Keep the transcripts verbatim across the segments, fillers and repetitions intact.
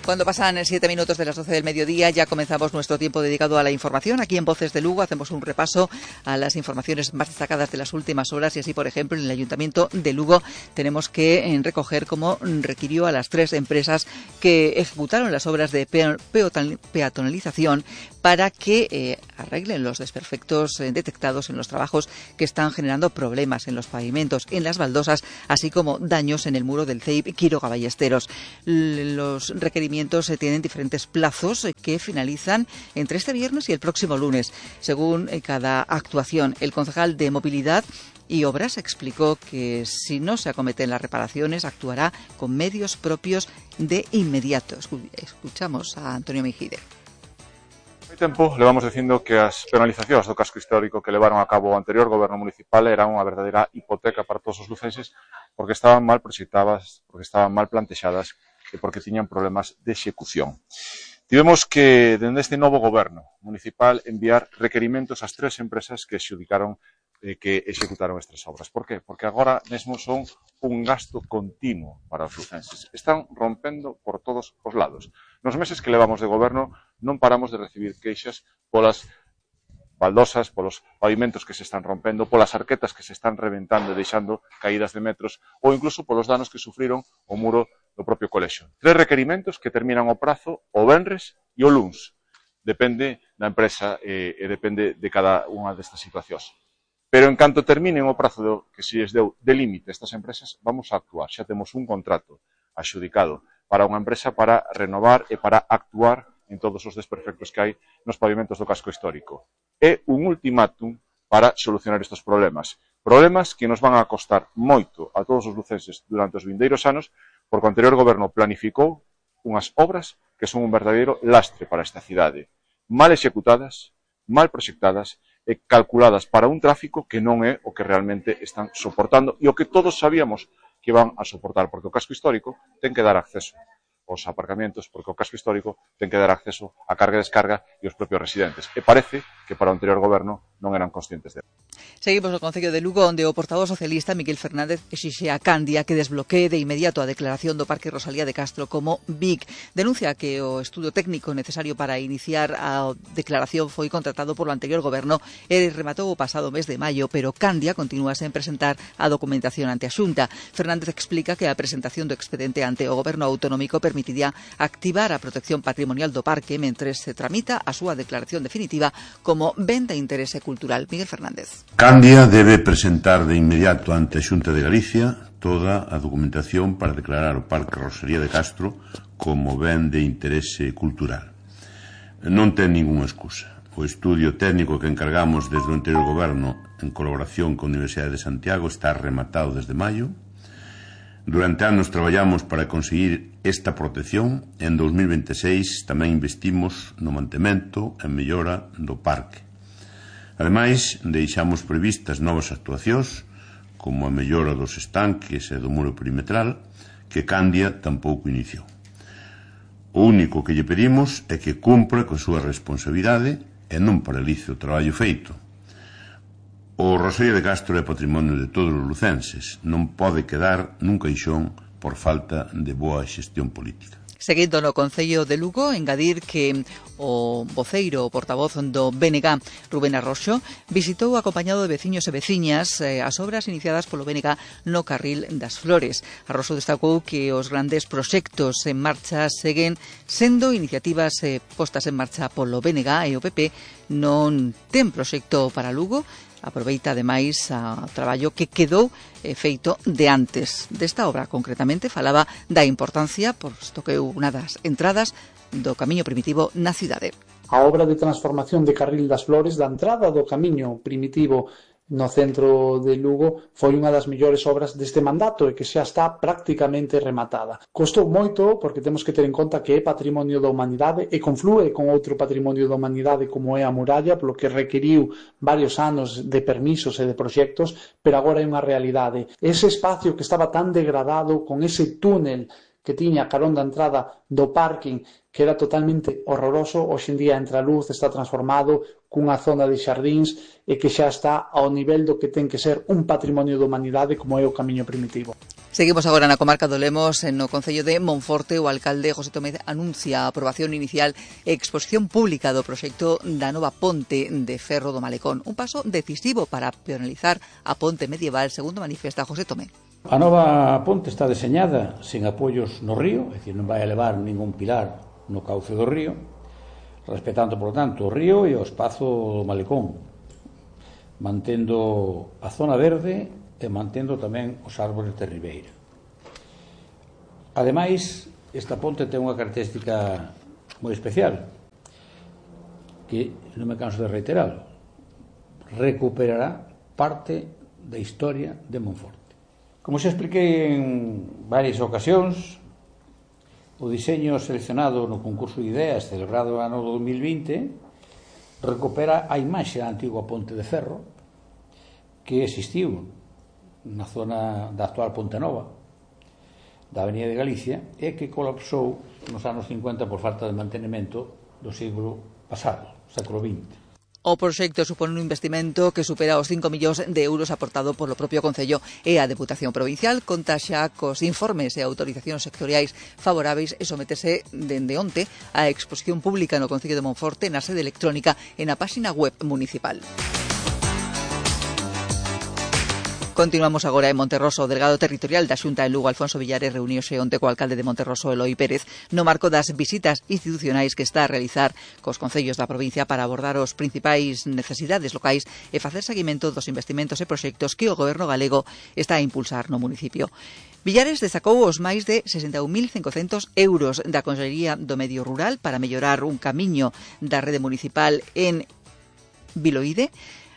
Cuando pasan siete minutos de las doce del mediodía, ya comenzamos nuestro tiempo dedicado a la información. Aquí en Voces de Lugo hacemos un repaso a las informaciones más destacadas de las últimas horas y así, por ejemplo, en el Ayuntamiento de Lugo tenemos que recoger cómo requirió a las tres empresas que ejecutaron las obras de peatonalización para que eh, arreglen los desperfectos eh, detectados en los trabajos que están generando problemas en los pavimentos, en las baldosas, así como daños en el muro del C E I P Quiroga Ballesteros. Los requerimientos eh, tienen diferentes plazos eh, que finalizan entre este viernes y el próximo lunes, según eh, cada actuación. El concejal de Movilidad y Obras explicó que si no se acometen las reparaciones, actuará con medios propios de inmediato. Escuchamos a Antonio Mejide. Hai tempo levamos dicindo que as penalizacións do casco histórico que levaron a cabo o anterior goberno municipal eran unha verdadeira hipoteca para todos os lucenses porque estaban mal proxectadas, porque estaban mal plantexadas e porque tiñan problemas de execución. Tivemos que, dende este novo goberno municipal, enviar requerimentos ás tres empresas que exudicaron eh, que executaron estas obras. Por qué? Porque agora mesmo son un gasto continuo para os lucenses. Están rompendo por todos os lados. Nos meses que levamos de goberno non paramos de recibir queixas polas baldosas, polos pavimentos que se están rompendo, polas arquetas que se están reventando e deixando caídas de metros ou incluso polos danos que sufriron o muro do propio colexio. Tres requerimentos que terminan o prazo o venres e o luns. Depende da empresa e, e depende de cada unha destas situacións. Pero en canto terminen o prazo do, que se les deu de límite a estas empresas, vamos a actuar. Xa temos un contrato axudicado para unha empresa para renovar e para actuar en todos os desperfectos que hai nos pavimentos do casco histórico. É un ultimátum para solucionar estes problemas. Problemas que nos van a costar moito a todos os lucenses durante os vindeiros anos, porque o anterior goberno planificou unhas obras que son un verdadeiro lastre para esta cidade. Mal executadas, mal proxectadas e calculadas para un tráfico que non é o que realmente están soportando e o que todos sabíamos que van a soportar, porque o casco histórico ten que dar acceso aos aparcamentos, porque o casco histórico ten que dar acceso a carga e descarga e os propios residentes. E parece que para o anterior goberno non eran conscientes de. Seguimos no Concello de Lugo, onde o portavoz socialista Miguel Fernández exixe a Candia que desbloquee de inmediato a declaración do Parque Rosalía de Castro como B I C. Denuncia que o estudo técnico necesario para iniciar a declaración foi contratado polo anterior goberno e rematou o pasado mes de maio, pero Candia continúa sen presentar a documentación ante a Xunta. Fernández explica que a presentación do expediente ante o goberno autonómico permitiría activar a protección patrimonial do parque mentres se tramita a súa declaración definitiva como ben de interese cultural. Miguel Fernández. Candia debe presentar de inmediato ante a Xunta de Galicia toda a documentación para declarar o Parque Rosalía de Castro como ben de interese cultural. Non ten ningunha excusa. O estudio técnico que encargamos desde o anterior goberno en colaboración con a Universidade de Santiago está rematado desde maio. Durante anos traballamos para conseguir esta protección e en dos mil veintiséis tamén investimos no mantemento e mellora do parque. Ademais, deixamos previstas novas actuacións, como a mellora dos estanques e do muro perimetral, que Candia tampouco iniciou. O único que lle pedimos é que cumpra coa súa responsabilidade e non paralice o traballo feito. O Rosalía de Castro é patrimonio de todos os lucenses, non pode quedar nun caixón por falta de boa xestión política. Seguindo no Concello de Lugo, engadir que o voceiro, o portavoz do B N G, Rubén Arroxo, visitou acompañado de veciños e veciñas eh, as obras iniciadas polo B N G no Carril das Flores. Arroxo destacou que os grandes proxectos en marcha seguen sendo iniciativas eh, postas en marcha polo B N G e o P P non ten proxecto para Lugo. Aproveita, ademais, o traballo que quedou eh, feito de antes desta obra. Concretamente, falaba da importancia, posto que é unha das entradas do camiño primitivo na cidade. A obra de transformación de Carril das Flores da entrada do camiño primitivo no centro de Lugo foi unha das mellores obras deste mandato e que xa está prácticamente rematada. Costou moito porque temos que ter en conta que é patrimonio da humanidade e conflúe con outro patrimonio da humanidade como é a muralla, polo que requiriu varios anos de permisos e de proxectos, pero agora é unha realidade. Ese espacio que estaba tan degradado con ese túnel que tiña carón da entrada do parking que era totalmente horroroso, hoxe en día entra a luz, está transformado cunha zona de xardíns e que xa está ao nivel do que ten que ser un patrimonio da humanidade como é o camiño primitivo. Seguimos agora na comarca do Lemos, no concello de Monforte. O alcalde José Tomé anuncia a aprobación inicial e exposición pública do proxecto da nova ponte de ferro do Malecón. Un paso decisivo para penalizar a ponte medieval, segundo manifesta José Tomé. A nova ponte está deseñada sen apoios no río, é dicir, non vai a levar ningún pilar no cauce do río, respetando, por tanto, o río e o espazo do Malecón, mantendo a zona verde e mantendo tamén os árbores de ribeira. Ademais, esta ponte ten unha característica moi especial, que non me canso de reiteralo, recuperará parte da historia de Monforte. Como xa expliquei en varias ocasións, o diseño seleccionado no concurso de ideas celebrado no ano dos mil vinte recupera a imaxe da antiga ponte de ferro que existiu na zona da actual Ponte Nova da Avenida de Galicia e que colapsou nos anos cincuenta por falta de mantenimento do século pasado, século vinte. O proxecto supón un investimento que supera os cinco millóns de euros aportado polo propio Concello e a Deputación Provincial. Conta xa cos informes e autorizacións sectoriais favoráveis e sometese dende onte a exposición pública no Concello de Monforte na sede electrónica e na páxina web municipal. Continuamos agora en Monterroso. O delegado territorial da Xunta en Lugo, Alfonso Villares, reuniuse onte co alcalde de Monterroso, Eloi Pérez, no marco das visitas institucionais que está a realizar cos concellos da provincia para abordar os principais necesidades locais e facer seguimento dos investimentos e proxectos que o goberno galego está a impulsar no municipio. Villares destacou os máis de sesenta e un mil cincocentos euros da Consellería do Medio Rural para mellorar un camiño da rede municipal en Viloide,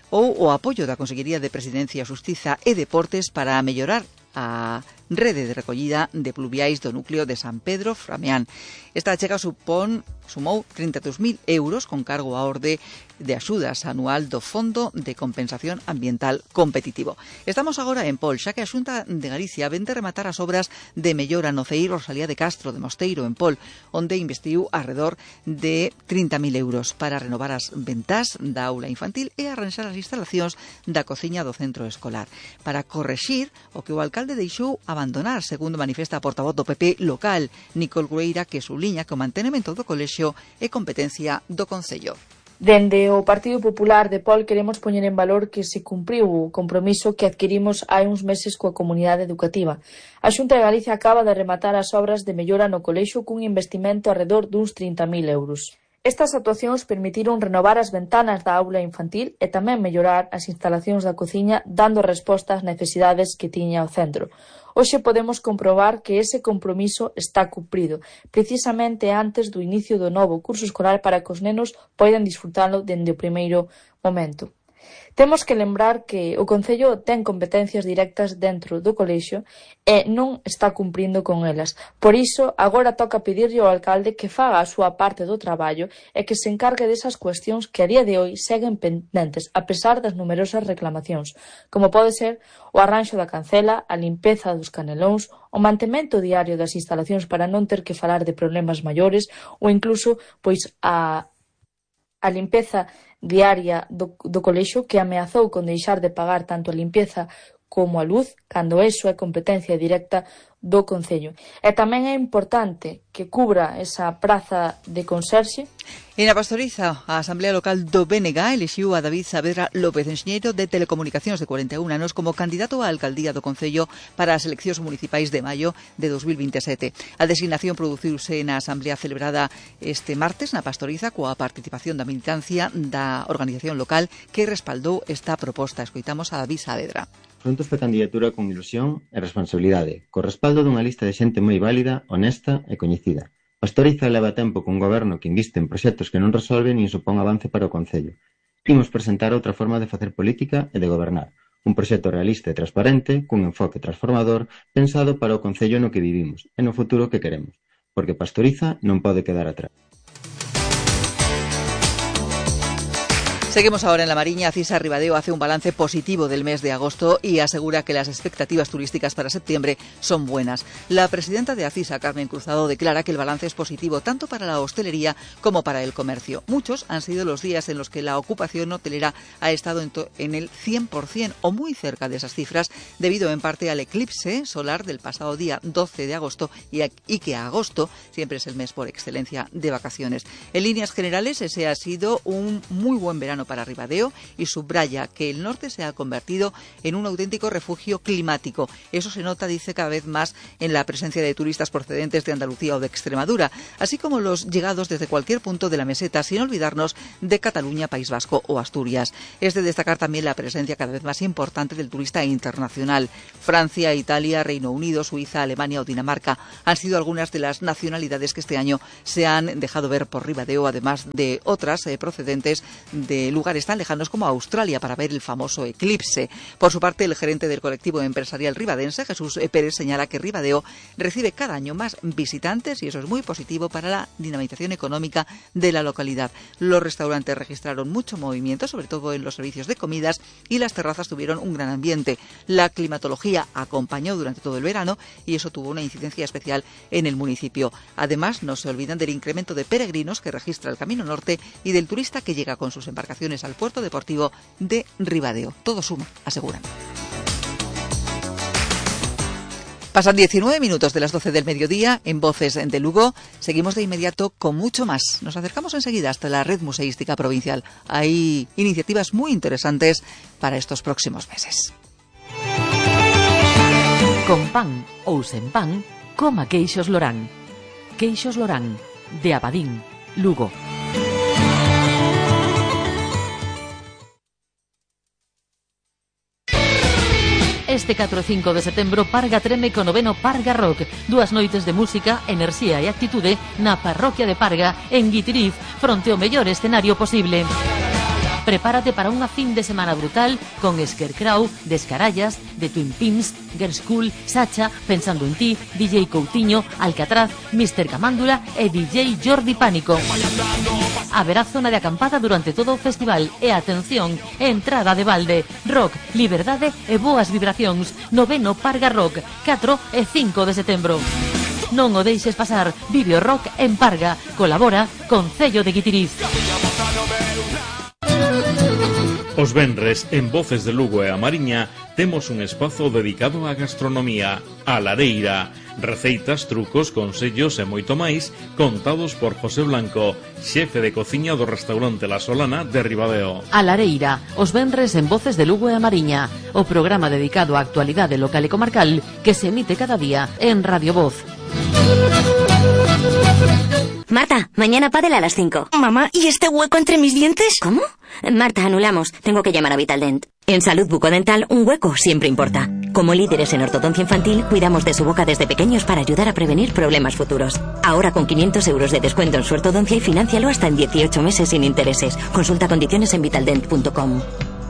ou o apoio da Consellería de Presidencia, Xustiza e Deportes para mellorar a rede de recollida de pluviais do núcleo de San Pedro Frameán. Esta achega supón, sumou trinta e dous mil euros con cargo á orde de axudas anual do Fondo de Compensación Ambiental Competitivo. Estamos agora en Pol, xa que a Xunta de Galicia vén de rematar as obras de mellora no C E I Rosalía de Castro de Mosteiro en Pol, onde investiu arredor de trinta mil euros para renovar as ventás da aula infantil e arranxar as instalacións da cociña do centro escolar, para correxir o que o alcalde deixou abandonar, segundo manifesta a portavoz do P P local, Nicole Grueira, que subliña que o mantenimento do colexio é competencia do Concello. Dende o Partido Popular de Pol queremos poñer en valor que se cumpriu o compromiso que adquirimos hai uns meses coa comunidade educativa. A Xunta de Galicia acaba de rematar as obras de mellora no colexio cun investimento arredor duns trinta mil euros. Estas actuacións permitiron renovar as ventanas da aula infantil e tamén mellorar as instalacións da cociña, dando resposta ás necesidades que tiña o centro. Hoxe podemos comprobar que ese compromiso está cumprido, precisamente antes do inicio do novo curso escolar para que os nenos poidan disfrutalo dende o primeiro momento. Temos que lembrar que o Concello ten competencias directas dentro do colexio e non está cumprindo con elas. Por iso, agora toca pedirlle ao alcalde que faga a súa parte do traballo e que se encargue desas cuestións que a día de hoy seguen pendentes, a pesar das numerosas reclamacións, como pode ser o arranxo da cancela, a limpeza dos canelóns, o mantemento diario das instalacións para non ter que falar de problemas maiores ou incluso pois a a limpeza diaria do, do colexio, que ameazou con deixar de pagar tanto a limpeza como a luz, cando eso é competencia directa do Concello. E tamén é importante que cubra esa praza de conserxe. En a Pastoriza, a Asamblea Local do B N G elixiu a David Saavedra López, enxeñeiro de Telecomunicacións de corenta e un anos, como candidato á alcaldía do Concello para as eleccións municipais de maio de dos mil veintesete. A designación produciuse na Asamblea celebrada este martes na Pastoriza coa participación da militancia da organización local que respaldou esta proposta. Escoitamos a David Saavedra. Afronto esta candidatura con ilusión e responsabilidade, co respaldo dunha lista de xente moi válida, honesta e coñecida. Pastoriza leva tempo cun goberno que inviste en proxectos que non resolven nin supón avance para o Concello. Imos presentar outra forma de facer política e de gobernar, un proxecto realista e transparente, cun enfoque transformador, pensado para o Concello no que vivimos e no futuro que queremos, porque Pastoriza non pode quedar atrás. Seguimos ahora en La Mariña. Cisa Ribadeo hace un balance positivo del mes de agosto y asegura que las expectativas turísticas para septiembre son buenas. La presidenta de Acisa, Carmen Cruzado, declara que el balance es positivo tanto para la hostelería como para el comercio. Muchos han sido los días en los que la ocupación hotelera ha estado en, en el cien por cien o muy cerca de esas cifras, debido en parte al eclipse solar del pasado día doce de agosto y, a, y que agosto siempre es el mes por excelencia de vacaciones. En líneas generales, ese ha sido un muy buen verano para Ribadeo y subraya que el norte se ha convertido en un auténtico refugio climático. Eso se nota, dice, cada vez más en la presencia de turistas procedentes de Andalucía o de Extremadura, así como los llegados desde cualquier punto de la meseta, sin olvidarnos de Cataluña, País Vasco o Asturias. Es de destacar también la presencia cada vez más importante del turista internacional. Francia, Italia, Reino Unido, Suiza, Alemania o Dinamarca han sido algunas de las nacionalidades que este año se han dejado ver por Ribadeo, además de otras eh, procedentes de lugares tan lejanos como Australia para ver el famoso eclipse. Por su parte, el gerente del colectivo empresarial ribadense, Jesús Pérez, señala que Ribadeo recibe cada año más visitantes y eso es muy positivo para la dinamización económica de la localidad. Los restaurantes registraron mucho movimiento, sobre todo en los servicios de comidas, y las terrazas tuvieron un gran ambiente. La climatología acompañó durante todo el verano y eso tuvo una incidencia especial en el municipio. Además, no se olvidan del incremento de peregrinos que registra el Camino Norte y del turista que llega con sus embarcaciones al puerto deportivo de Ribadeo. Todo suma, aseguran. Pasan diecinueve minutos de las doce del mediodía en Voces de Lugo. Seguimos de inmediato con mucho más. Nos acercamos enseguida hasta la Red Museística Provincial. Hay iniciativas muy interesantes para estos próximos meses. Con pan ou sen pan, coma queixos Lorán. Queixos Lorán, de Abadín, Lugo. Este catro e cinco de setembro Parga treme co noveno Parga Rock. Dúas noites de música, enerxía e actitude na parroquia de Parga, en Guitiriz, fronte ao mellor escenario posible. Prepárate para unha fin de semana brutal con Scarecrow, Descarallas, The Twin Pins, Girls School, Sacha, Pensando en ti, D J Coutinho, Alcatraz, mister Camándula e D J Jordi Pánico. Haberá zona de acampada durante todo o festival e, atención, entrada de balde, rock, liberdade e boas vibracións. Noveno Parga Rock, catro e cinco de setembro. Non o deixes pasar. Vive o rock en Parga. Colabora Concello de Guitiriz. Os venres, en Voces de Lugo e a Mariña, temos un espazo dedicado á gastronomía, a Lareira. Receitas, trucos, consellos e moito máis, contados por José Blanco, xefe de cociña do restaurante La Solana de Ribadeo. A Lareira, os venres en Voces de Lugo e a Mariña, o programa dedicado á actualidade local e comarcal que se emite cada día en Radio Voz. Marta, mañana pádel a las cinco. Mamá, ¿y este hueco entre mis dientes? ¿Cómo? Marta, anulamos. Tengo que llamar a Vitaldent. En Salud Bucodental, un hueco siempre importa. Como líderes en ortodoncia infantil, cuidamos de su boca desde pequeños para ayudar a prevenir problemas futuros. Ahora con quinientos euros de descuento en su ortodoncia y financialo hasta en dieciocho meses sin intereses. Consulta condiciones en vitaldent punto com.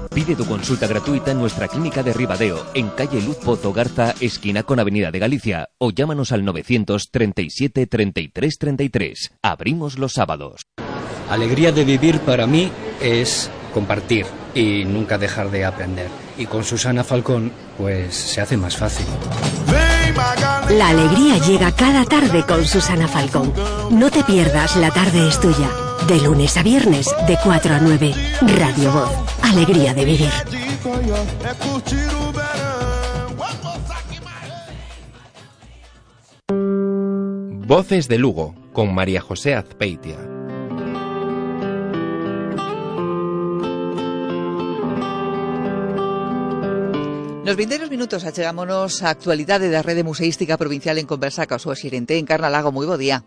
Pide tu consulta gratuita en nuestra clínica de Ribadeo, en calle Luz Pozo Garza, esquina con Avenida de Galicia, o llámanos al novecientos treinta y siete treinta y tres treinta y tres. Abrimos los sábados. Alegría de vivir para mí es compartir y nunca dejar de aprender. Y con Susana Falcón, pues se hace más fácil. La alegría llega cada tarde con Susana Falcón. No te pierdas La Tarde es Tuya. De lunes a viernes, de cuatro a nueve. Radio Voz. Alegría de vivir. Voces de Lugo, con María José Azpeitia. Nos vindeiros minutos achegámonos a actualidade da Rede Museística Provincial en conversa ca súa xerente en Carnalago. Moi bo día.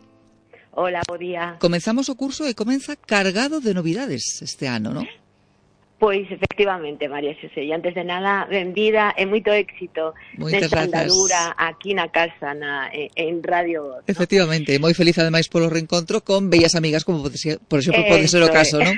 Hola, bo día. Comenzamos o curso e comeza cargado de novidades este ano, non? Pois, efectivamente, María Xosé, e antes de nada, benvida e moito éxito nesta andadura aquí na casa, na, en Radio Voz, ¿no? Efectivamente, moi feliz ademais polo reencontro con bellas amigas, como pode ser, por exemplo, pode ser o caso, non?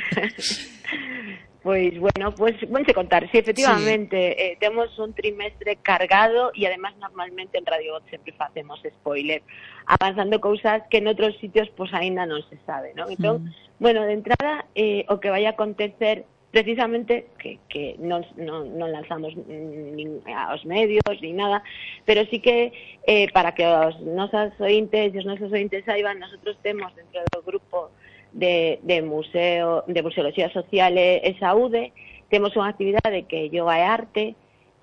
Pois, bueno, pues, bueno, se contar, sí, efectivamente, sí. Eh, temos un trimestre cargado e además normalmente en Radio Voz sempre facemos spoiler, avanzando cousas que en outros sitios pues aínda non se sabe, non? Entón, mm. bueno, de entrada, eh, o que vai a acontecer precisamente que, que non, non, non lanzamos nin aos medios nin nada, pero sí que eh, para que os nosos ointes e os nosos ointes saiban, nosotros temos dentro do grupo de, de museo de museoloxía social e, e saúde, temos unha actividade que é yoga e arte,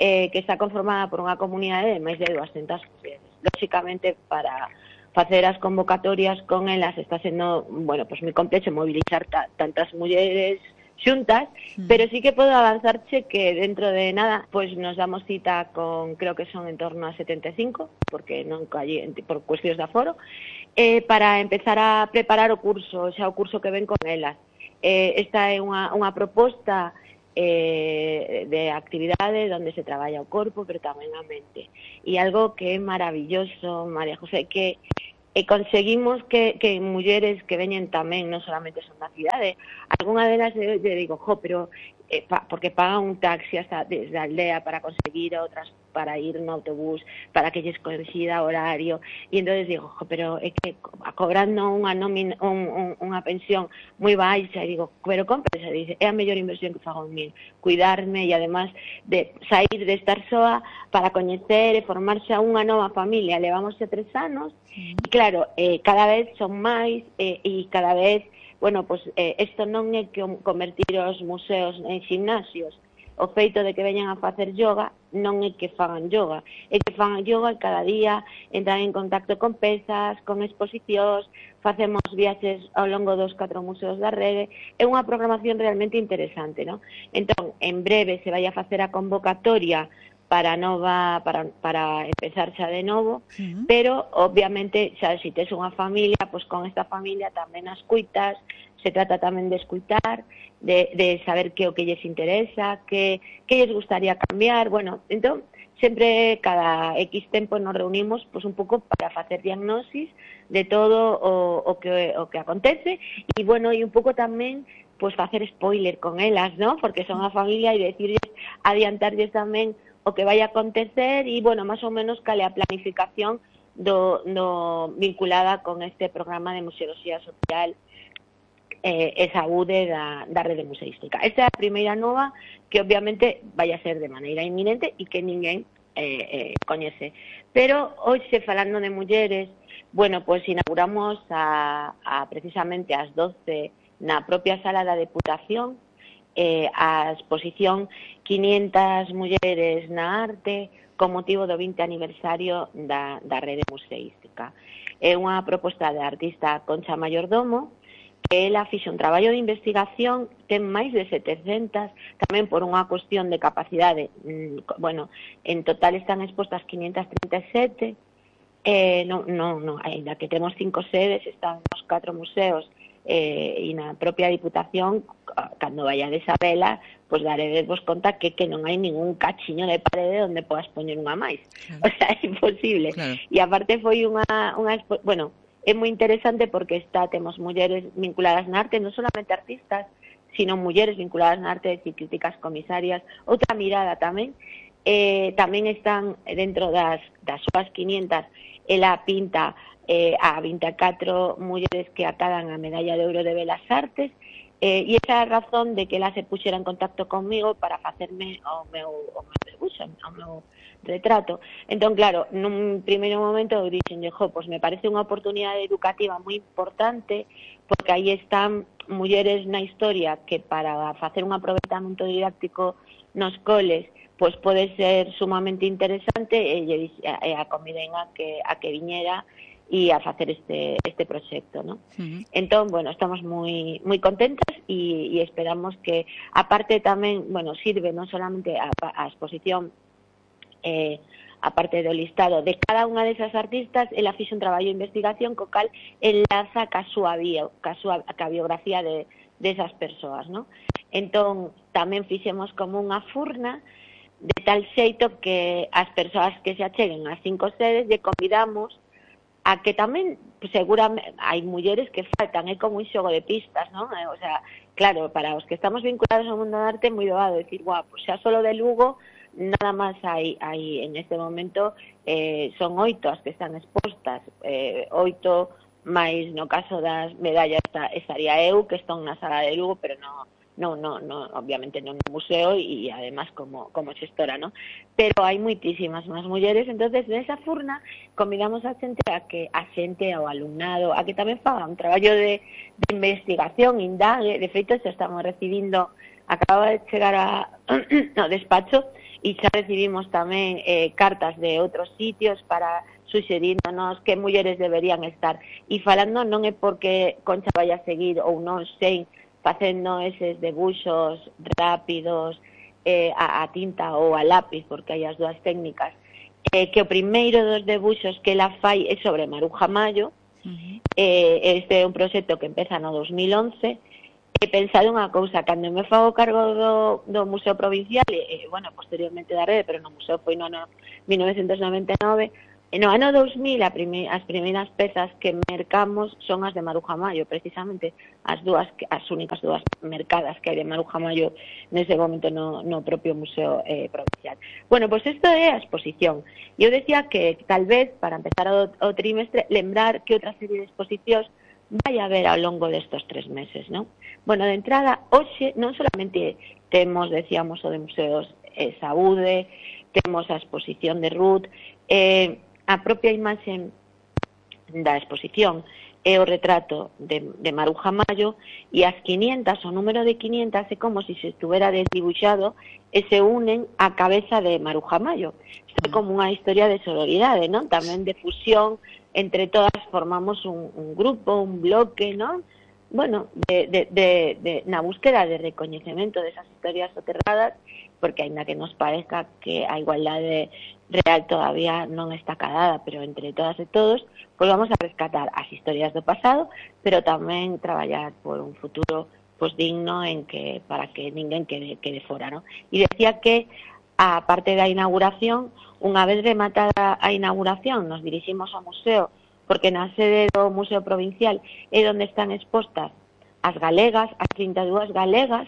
eh, que está conformada por unha comunidade de máis de doscientas mulleres. Lóxicamente, para facer as convocatorias con elas está sendo, bueno, pues moi complexo movilizar ta, tantas mulleres xuntas, mm. pero sí que podo avanzarche que dentro de nada, pues nos damos cita con, creo que son en torno a setenta e cinco, porque non allí, por cuestións de aforo, eh, para empezar a preparar o curso, xa o curso que ven con elas. Eh, esta é unha, unha proposta eh, de actividade onde se traballa o corpo, pero tamén a mente. E algo que é maravilloso, María José, que e conseguimos que, que mulleres que veñen tamén, non solamente son da cidade, algunha delas eu lle digo, jo, pero eh, pa, porque pagan un taxi hasta desde a aldea para conseguir, outras para ir no autobús, para que lles coincida horario, e entonces digo, jo, pero é que cobrando unha nómina, un, un, unha pensión moi baixa, e digo, pero cómprese, dice, é a mellor inversión que fago en min, cuidarme e además de sair de estar soa para coñecer e formarse a unha nova familia. Levamos xa tres anos, e claro, eh, cada vez son máis eh, e cada vez, bueno, pues eh, isto non é que convertir os museos en gimnasios. O feito de que veñan a facer yoga non é que fagan yoga, é que fagan yoga e cada día entran en contacto con pezas, con exposicións, facemos viaxes ao longo dos catro museos da rede, é unha programación realmente interesante, ¿no? Entón, en breve se vai a facer a convocatoria para nova para para empezar xa de novo, uh-huh. pero obviamente xa se tes unha familia, pois con esta familia tamén as cuitas, se trata tamén de escuitar, de, de saber que o que lles interesa, que que lles gustaría cambiar, bueno, entón sempre cada X tempo nos reunimos pois un pouco para facer diagnosis de todo o, o que o que acontece e bueno, e un pouco tamén pois facer spoiler con elas, ¿no? Porque son a familia e decirles, adiantarles tamén o que vai a acontecer e, bueno, máis ou menos cale a planificación do, do vinculada con este programa de museoloxía social eh, e saúde da, da rede museística. Esta é a primeira nova que obviamente vai a ser de maneira inminente e que ninguén eh, eh, coñece. Pero hoxe, falando de mulleres, bueno, pues inauguramos a, a precisamente ás doce na propia sala da Deputación eh, a exposición quinientas mulleres na arte con motivo do vinte aniversario da, da rede museística. É unha proposta da artista Concha Mayordomo, que ela fixe un traballo de investigación, ten máis de setecentas, tamén por unha cuestión de capacidade, bueno, en total están expostas quinientas trinta e sete, eh, non, non, non, ainda que temos cinco sedes, están nos catro museos, eh, e na propia Diputación, cando vayades a vela, pois daredevos conta que, que non hai ningún cachiño de parede onde podas poñer unha máis. Claro. O sea, é imposible. Claro. E aparte foi unha, unha bueno, é moi interesante porque está, temos mulleres vinculadas na arte, non solamente artistas, sino mulleres vinculadas na arte, e críticas comisarias, outra mirada tamén, eh, tamén están dentro das, das súas quinientas, ela pinta eh, a vinte e catro mulleres que acadan a medalla de ouro de Belas Artes, eh, e esa é a razón de que ela se puxera en contacto conmigo para facerme o meu, o meu debuxo, o meu retrato. Entón, claro, nun primeiro momento eu dixen, jo, pois me parece unha oportunidade educativa moi importante, porque aí están mulleres na historia que para facer un aproveitamento didáctico nos coles, pois pode ser sumamente interesante, e, e a conviden a que, a que viñera e a facer este este proxecto, ¿no? Uh-huh. Entón, bueno, estamos moi moi contentas e, e esperamos que, aparte tamén, bueno, sirve non solamente a, a exposición, eh, aparte do listado de cada unha desas artistas, ela fixe un traballo de investigación co cal enlaza ca súa bio, ca súa ca biografía de desas persoas, ¿no? Entón, tamén fixemos como unha furna de tal xeito que as persoas que se acheguen ás cinco sedes lle convidamos a que tamén, seguramente, hai mulleres que faltan, é como un xogo de pistas, non? O sea, claro, para os que estamos vinculados ao mundo da arte é moi doado decir, guau, pues xa solo de Lugo, nada máis hai, hai en este momento, eh, son oito as que están expostas, eh, oito máis no caso das medallas estaría eu, que estou na sala de Lugo, pero no, no, no, no, obviamente non no museo e además como, como xestora, ¿no? Pero hai moitísimas máis mulleres, entonces nesa furna convidamos a xente a que a xente ao alumnado a que tamén faga un traballo de, de investigación, indague, de feito xa estamos recibindo, acaba de chegar a, ao despacho e xa recibimos tamén eh, cartas de outros sitios para suxeríndonos que mulleres deberían estar, e falando non é porque Concha vaya a seguir ou non sei facendo eses debuxos rápidos eh, a, a tinta ou a lápiz, porque hai as dúas técnicas, eh, que o primeiro dos debuxos que ela fai é sobre Maruja Mayo. Uh-huh. eh, este é un proxecto que empeza no dos mil once, e pensado unha cousa, cando me fago cargo do, do Museo Provincial, e, eh, bueno, posteriormente da rede, pero no museo foi no ano mil novecientos noventa e nove, no ano dos mil a prime, as primeiras pezas que mercamos son as de Maruja Mayo, precisamente as dúas, as únicas dúas mercadas que hai de Maruja Mayo nese momento no, no propio Museo eh, Provincial. Bueno, pois pues isto é a exposición. Eu decía que tal vez, para empezar o, o trimestre, lembrar que outra serie de exposicións vai a haber ao longo destos tres meses, non? Bueno, de entrada, hoxe non solamente temos, decíamos, o de Museos eh, Saúde, temos a exposición de Ruth, eh, a propia imaxe da exposición é o retrato de, de Maruja Mayo, e as quinientas, o número de quinientas é como se se estuvera desdibuixado e se unen á cabeza de Maruja Mayo. Isto é como unha historia de sororidade, non? Tamén de fusión, entre todas formamos un, un grupo, un bloque, non? Bueno, de, de, de, de, na búsqueda de recoñecemento desas historias soterradas, porque aínda que nos parezca que a igualdade real todavía non está cadada, pero entre todas e todos, pois vamos a rescatar as historias do pasado, pero tamén traballar por un futuro pois digno en que para que ninguén quede, quede fora, ¿no? E decía que a parte da inauguración, unha vez rematada a inauguración, nos diriximos ao museo, porque na sede do Museo Provincial é onde están expostas as galegas, as trinta e dúas galegas,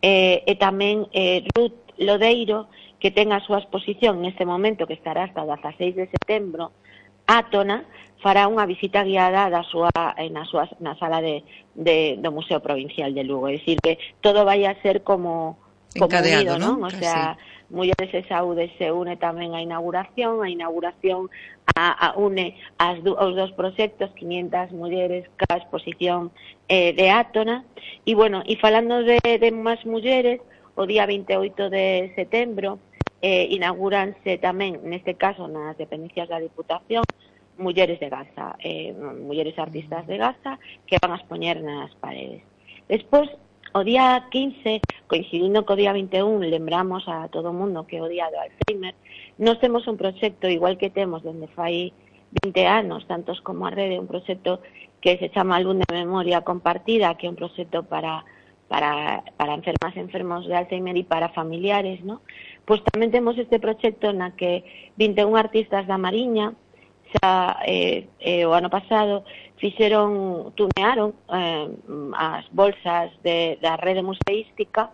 eh, e tamén eh, Ruth Lodeiro, que ten a súa exposición neste momento, que estará hasta o dezaseis de setembro, átona, fará unha visita guiada da súa, na, súa, na sala de, de, do Museo Provincial de Lugo. É dicir, que todo vai a ser como, como unido, ¿no? O sea, Mulleres e Saúde se une tamén a inauguración, a inauguración a, a une as, os dos proxectos, quinientas mulleres ca exposición eh, de átona. E, bueno, e falando de, de máis mulleres, o día veinte e oito de setembro, eh, inauguranse tamén, neste caso, nas dependencias da Diputación, Mulleres de Gaza, eh, mulleres artistas de Gaza, que van a expoñer nas paredes. Despois, o día quince, coincidindo co día vinte e un, lembramos a todo o mundo que é o día do Alzheimer. Nós temos un proxecto, igual que temos dende fai vinte anos, tantos como a rede, un proxecto que se chama Álbum de Memoria Compartida, que é un proxecto para para para enfermas e enfermos de Alzheimer e para familiares, ¿no? Pois tamén temos este proxecto na que vinte e un artistas da Mariña xa eh, eh, o ano pasado fixeron, tunearon eh, as bolsas de, da rede museística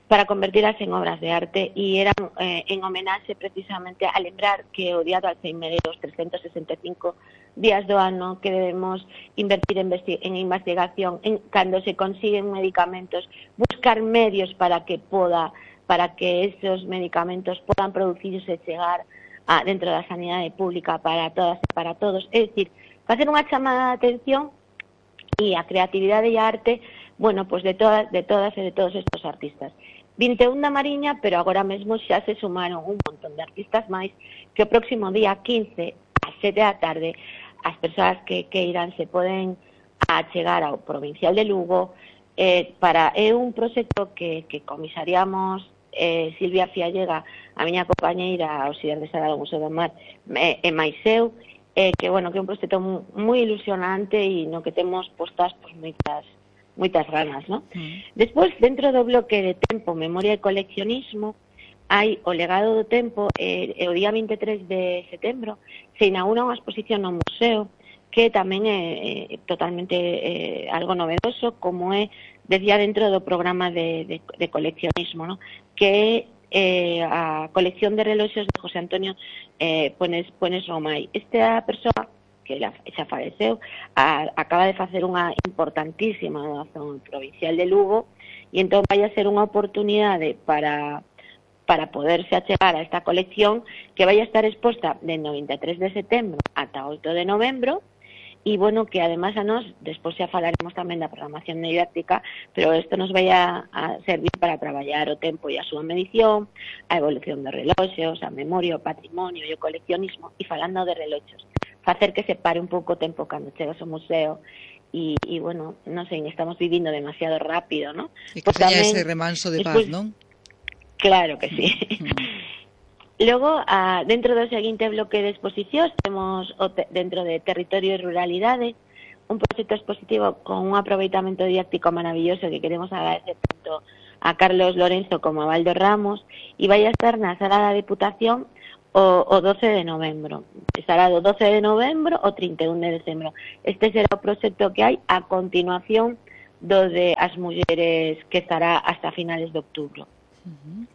para convertirlas en obras de arte, e eran eh, en homenaxe precisamente a lembrar que o día do Alzheimer é os trescentos sesenta e cinco días do ano que debemos invertir en, en investigación, en cando se consiguen medicamentos, buscar medios para que poda, para que esos medicamentos podan producirse e chegar a, dentro da sanidade pública para todas e para todos. É dicir, facer unha chamada de atención e a creatividade e a arte, bueno, pues de todas, de todas e de todos estos artistas. vinte e un da Mariña, pero agora mesmo xa se sumaron un montón de artistas máis que o próximo día quince, ás sete da tarde, as persoas que, que irán se poden achegar ao Provincial de Lugo. Eh, para é un proxecto que, que comisariamos eh, Silvia Fiallega, a miña compañeira auxiliar de sala do Museo do Mar, e, e máis eu, eh, que, bueno, que é un proxecto moi ilusionante e no que temos postas pues, moitas moitas ganas, ¿no? Mm. Despois, dentro do bloque de tempo, memoria e coleccionismo, hai o legado do tempo, e, e o día vinte e tres de setembro se inaugura unha exposición no museo que tamén é, é totalmente é, algo novedoso, como é, decía, dentro do programa de, de, de coleccionismo, ¿no? Que é eh, a colección de reloxos de José Antonio eh, Pones, Pones Romai. Esta persoa que xa faleceu, a, acaba de facer unha importantísima doación provincial de Lugo, e entón vai a ser unha oportunidade para para poderse achegar a esta colección que vai a estar exposta dende o vinte e tres de setembro ata o oito de novembro. E, bueno, que además a nós, despois xa falaremos tamén da programación didáctica, pero isto nos vai a, a servir para traballar o tempo e a súa medición, a evolución dos reloxos, a memoria, o patrimonio e o coleccionismo, e falando de reloxos, facer que se pare un pouco o tempo cando chegas ao museo, e, e bueno, non sei, estamos vivindo demasiado rápido, ¿no? E que teña ese remanso de paz, non? Claro que sí. Logo, a, dentro do seguinte bloque de exposicións, temos o te, dentro de Territorio e Ruralidade un proxecto expositivo con un aproveitamento didáctico maravilloso que queremos agradecer tanto a Carlos Lorenzo como a Valdo Ramos, e vai a estar na Sala da Diputación o, o doce de novembro. Estará do doce de novembro ao trinta e un de decembro. Este será o proxecto que hai a continuación do de as mulleres, que estará hasta finales de outubro. Uh-huh.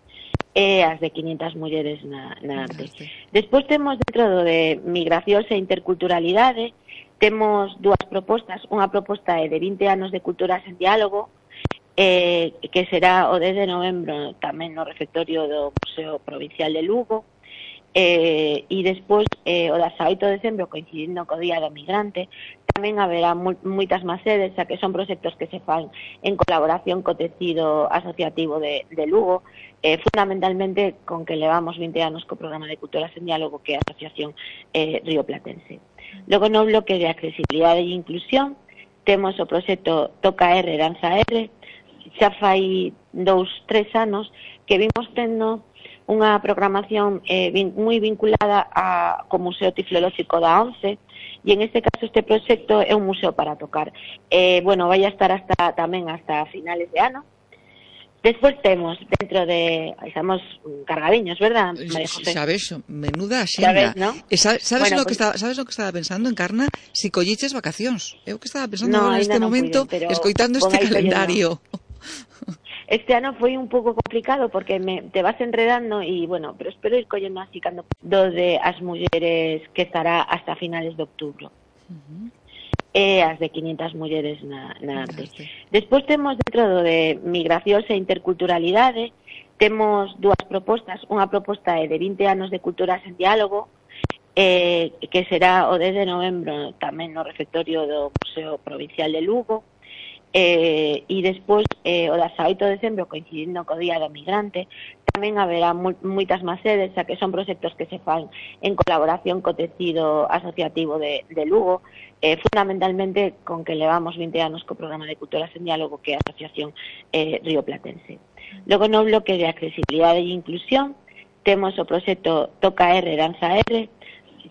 E as de quinientas mulleres na, na arte. Despois temos dentro do de migracións e interculturalidade, temos dúas propostas. Unha proposta é de vinte anos de culturas en diálogo, eh, que será o dez de novembro tamén no refectorio do Museo Provincial de Lugo, eh, e despois eh, o dezaoito de decembro, coincidindo co Día do Migrante, tamén haberá moitas máis sedes, xa que son proxectos que se fan en colaboración co tecido asociativo de, de Lugo, eh, fundamentalmente con que levamos vinte anos co programa de Culturas en Diálogo, que é a Asociación eh, Río Platense. Logo, no bloque de accesibilidade e inclusión, temos o proxecto Toca R, Danza R. Xa fai dous, tres anos que vimos tendo unha programación eh, vin, moi vinculada a, co Museo Tiflolóxico da ONCE, e en este caso este proxecto é un museo para tocar. Eh, bueno, vai a estar hasta tamén hasta finales de ano. Despois temos dentro de... Estamos cargadiños, verdad, María José? Sabes, menuda xenda. Sabes, ¿no? E sabes, sabes, bueno, lo pues... que estaba, sabes lo que estaba pensando, Encarna? Si colliches vacacións. Eu que estaba pensando no, agora neste no momento, puiden, pero... escoitando este calendario. Este ano foi un pouco complicado porque me, te vas enredando e, bueno, pero espero ir collendo así cando do de as mulleres, que estará hasta finales de outubro. Uh-huh. E as de quinientas mulleres na, na arte. Despois temos dentro do de migracións e interculturalidade, temos dúas propostas. Unha proposta é de vinte anos de culturas en diálogo, eh, que será o dez de novembro tamén no refectorio do Museo Provincial de Lugo, eh, e despois eh, o dezaoito de decembro, coincidindo co Día do Migrante, tamén haberá moitas máis sedes, xa que son proxectos que se fan en colaboración co tecido asociativo de, de Lugo, eh, fundamentalmente con que levamos vinte anos co programa de Culturas en Diálogo, que é a Asociación eh, Río Platense. Logo, no bloque de accesibilidade e inclusión, temos o proxecto Toca R, Danza R.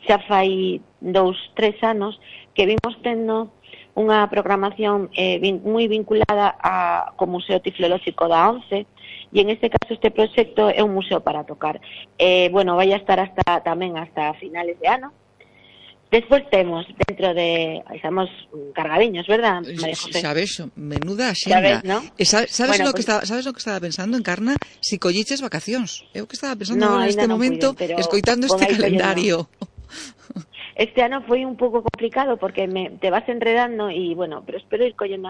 Xa fai dous, tres anos que vimos tendo unha programación eh, vin, moi vinculada a, co Museo Tiflolóxico da ONCE, e en este caso este proxecto é un museo para tocar. Eh, bueno, vai a estar hasta tamén hasta finales de ano. Despois temos dentro de... Estamos cargadiños, verdad, María José? Sabes, menuda xenda. Sabes, ¿no? E sabes, sabes, bueno, lo pues... que estaba, sabes lo que estaba pensando, Encarna? Si colliches vacacións. Eu que estaba pensando no, agora neste no momento, puiden, escoitando este calendario. Este ano foi un pouco complicado porque me, te vas enredando e, bueno, pero espero ir collendo así